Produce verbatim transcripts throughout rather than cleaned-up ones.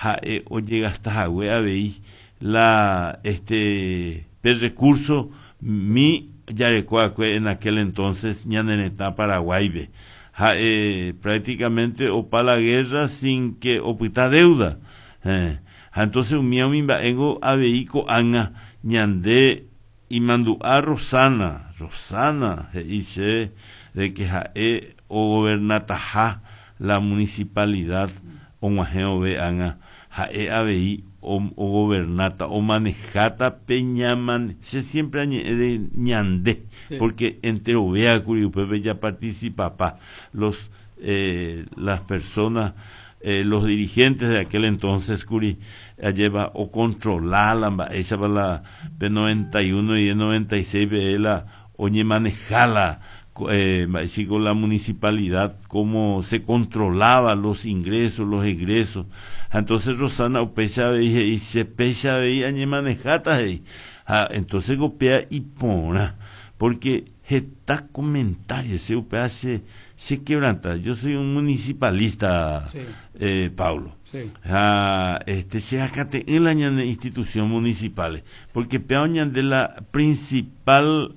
Ha'e ojegastahague avei la este pe recurso mi jarekoakue en aquel entonces ñane retã Paraguaype ha'e prácticamente opa la guerra sin que opyta deuda eh. Ha entonces umi umi mba'éngo avei ko'ág̃a ñande imandu'a Rosana Rosana he'i chéve de que ha'e ogobernataha la municipalidad og̃uahẽ ove ág̃a ha'e avei ogobernata omanejáta pe ñamane che siempre añe'ẽ de ñande Sí. Porque enterovéakuri upépe japarticipapa los eh, las personas eh, los dirigentes de aquel entonces kuri ajépa ocontrola la mba'éichapa la pe noventa y uno y el noventa y seis pe la oñemaneja la eh, mba'éichiko la municipalidad, cómo se controlaba los ingresos, los egresos. Entonces Rosana upéicha avei he'i che péicha avei añemanejáta he'i ha entonces upéa iporã porque heta comentario che upéa che che quebranta. Yo soy un municipalista. Sí. eh, Paulo. Sí. Ha este che hakate'ỹ la ñane institución municipales porque péa oñande la principal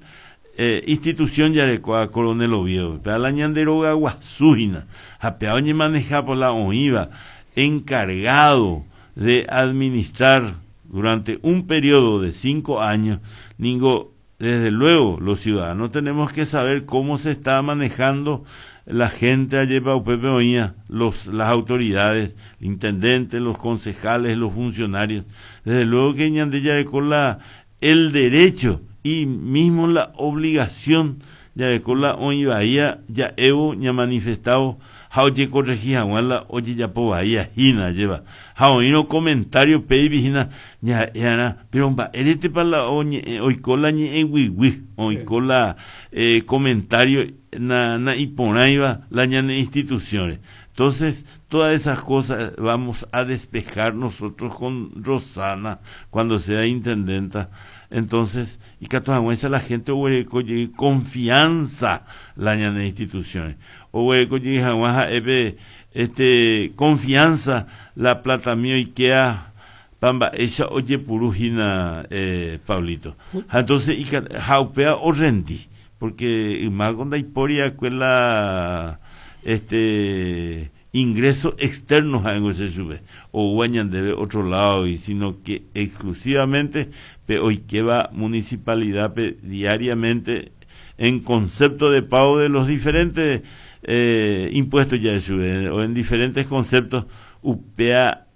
eh, institución jarekóva Coronel Oviedo péa la ñande róga guasu hína ha péa oñemaneja por la oĩva encargado de administrar durante un periodo de cinco años ningo desde luego los ciudadanos tenemos que saber cómo se está manejando la gente ajépa upépe oĩa los las autoridades, intendentes, los concejales, los funcionarios. Desde luego que ñande jareko la el derecho y mismo la obligación jareko la oĩvaía ja'évo ñamanifestávo ha ojecorregi hag̃ua la ojejapovai hína ajépa ha oĩrõ comentario péipi hína ña'e'arã pero mba'éretepa la oñe'ẽ oiko la ñe'ẽguyguy oiko la eh, comentario na, na iporãiva la ñane instituciones. Entonces todas esas cosas vamos a despejar nosotros con Rosana cuando sea intendenta. Entonces ikatu hag̃uáicha la gente oguereko jey confianza la ñane instituciones oguereko jey hag̃ua ha'épe este confianza la platami oikea pa mba'éicha ojepuru hína eh, Pablito ha entonces ika ha upéva orrendi porque ymáko ndaipóriakue la este ingreso externo ha'éngo che chupe oúva ñandéve otro lado y sino que exclusivamente pe oikéva municipalidad-pe diariamente en concepto de pago de los diferentes eh, impuestos ya chupe o en diferentes conceptos upéa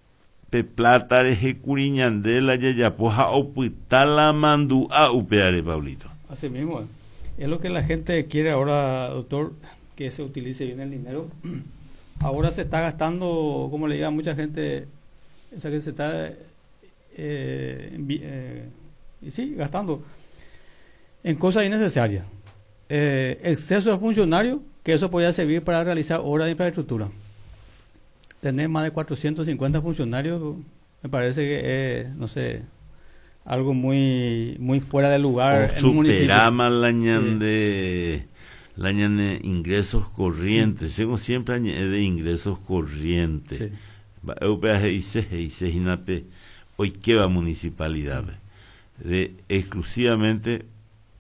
pe plata rehe kuri ñande la jajapo ha opyta la mandu'a upéare, Pablito. Así mismo, es lo que la gente quiere ahora, doctor, que se utilice bien el dinero. Ahora se está gastando, como le diga mucha gente, o sea que se está, eh, eh, y sí, gastando en cosas innecesarias. Eh, exceso de funcionarios, que eso podía servir para realizar obras de infraestructura. Tener más de cuatrocientos cincuenta funcionarios me parece que es, no sé, algo muy muy fuera de lugar en un municipio. Superama la ñande la ñane ingresos corrientes, según siempre añade de ingresos corrientes. Sí. Upéva he'ise he'ise hína pe oikéva municipalidad de exclusivamente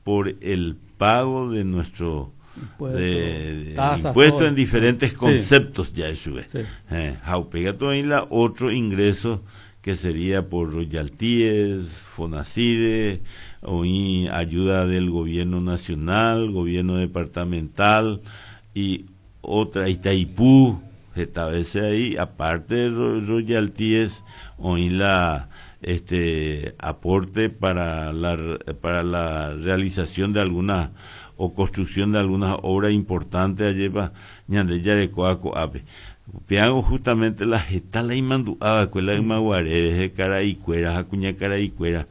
por el pago de nuestro Impuesto, de, de tasas, impuesto todo. En diferentes Sí. conceptos ya eso es. Sí. Eh, ha upéi la otro ingreso que sería por royalties, Fonacide, o ayuda del gobierno nacional, gobierno departamental y otra Itaipú, esta vez ahí, aparte de royalties, o la este aporte para la para la realización de alguna o construcción de algunas obras importantes ajépa ñande jarekóva ko'ápe. Upévango justamente la heta la imandu'áva'ekue la ymaguare karaikuéra ha kuñakaraikuéra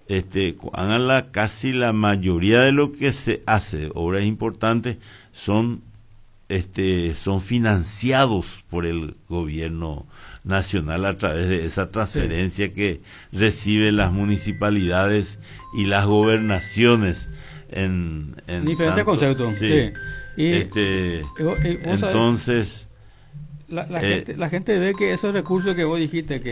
este ko'ág̃a la casi la mayoría de lo que se hace, obras importantes, son este son financiados por el gobierno nacional a través de esa transferencia que reciben las municipalidades y las gobernaciones en, en diferentes conceptos. Sí. Y, este, entonces la, la, eh, gente, la gente ve que esos recursos que vos dijiste que